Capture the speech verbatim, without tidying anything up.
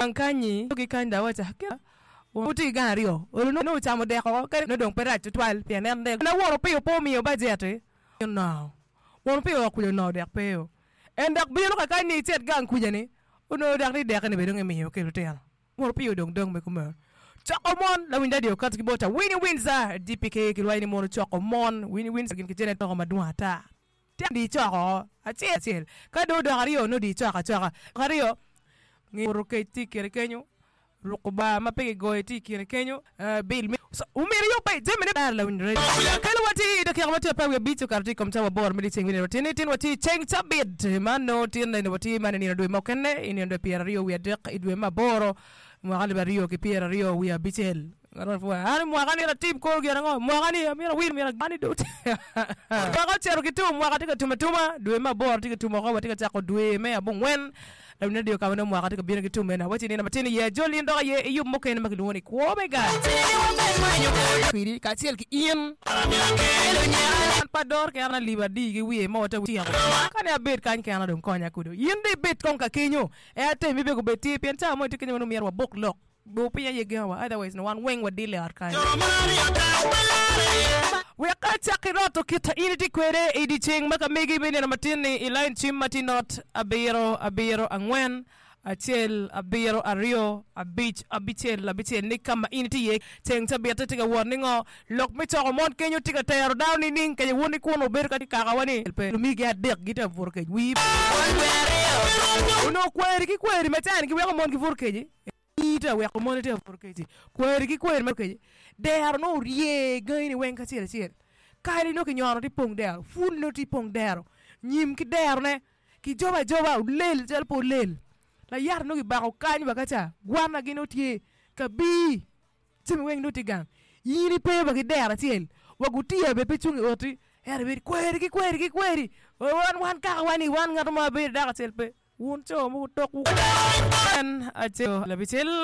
Gang kanyi ki kany da awaca Wuti gang aryo olo nongo ocamo dek oko kadi nongo dong pe rac tutwal pien en dek na won opiyo pe omiyo bajet onongo won opiyo woko kuca onongo dek pe o en dok bino ka kany ni icit gang kuca ni onongo dok ni dek-ni bene dong emiyo ki lutino won opiyo dong dong me kumeno coko mon lawiny radio okato ki bota Winnie Windsor DPK kilwayo ni mon ocoko mon Winnie Windsor gin ki Janet loko madwong ata Tek di coko acel acel, ka dong odok aryo nongo di coko acoka. Aryo, nge kec tye i kine kenyo, ruko bar ma pe kigoyo tye i kine kenyo, bil me omyero iyubbe jamine ber lawiny radio. Kelo wa tye i dakika ma tye apar wiye abic okato tye i kom cawa aboro me dyeceng me nino tin-ni. Tin watye i ceng cabit ma nongo tin eni watye man i nino dwe mukene i nino dwe pyeraryo wiye adek i dwe me aboro mwaka alip aryo ki pyeraryo wiye abicel. An mwaka ni atim koro gin ango? Mwaka ni amyero awil myero ani dong mwaka ocito ki tum mwaka tye ka tum atuma dwe me aboro tye ka tum oko watye ka cako dwe me abongwen lawiny radio ka ma nongo mwaka tye ka bino ki tum eni awaci nino matin iye ajol in dok aye iyub mukene ma kilwongo ni kwo me gang kwidi kacel ki in an pe adoro kena alip adi ki wiye mo te tyeko ka ni abed kany kena dong konya kudo in dong ibed kong ka kenyo en atemi bene gubed tye pien cawa mo itye kenyo ma nongo myero wabok lok Bor piny aye gengowa, otherwise nongo wan weng wadille i ot kany. Wek acak ki roto kit in itye kwede i dyeceng ma ka megi me nino matin-ni i lain cim ma tye not abiro abiro angwen acel abiro aryo abic abicel abicel ni ka ma in itye iye ceng cabit-te tye ka wot ni ngo lok me coko mon kenyo tye ka tero dano nining kece wun ni kunu wubedo ka kakawa ni pe lumigi adek gitye ka buto kec wii onongo kweri ki kweri ma cani giweko mon gibuto keci. Tye weko mon tye ka buto keci, kweri ki kweri ma keci, dero nongo orye gangi ni weng kacel acel, kali nongo kinyono tye pong dero, pul nongo tye pong dero, nyim ki derone kijobo ajoba olel calo pe olel, layata nongo kibako kany wa kaca, gwana gi nongo tye, kabir jami weng nongo tye gang, in ipe wa ki dero acel, wa gutiya bene pe cung i oti, ento ibedo kweri ki kweri ki kweri, wan wan kaka wa ni wan ngat mo ma bedo dako acel pe. Wun co mogo tokwu en acel abicel.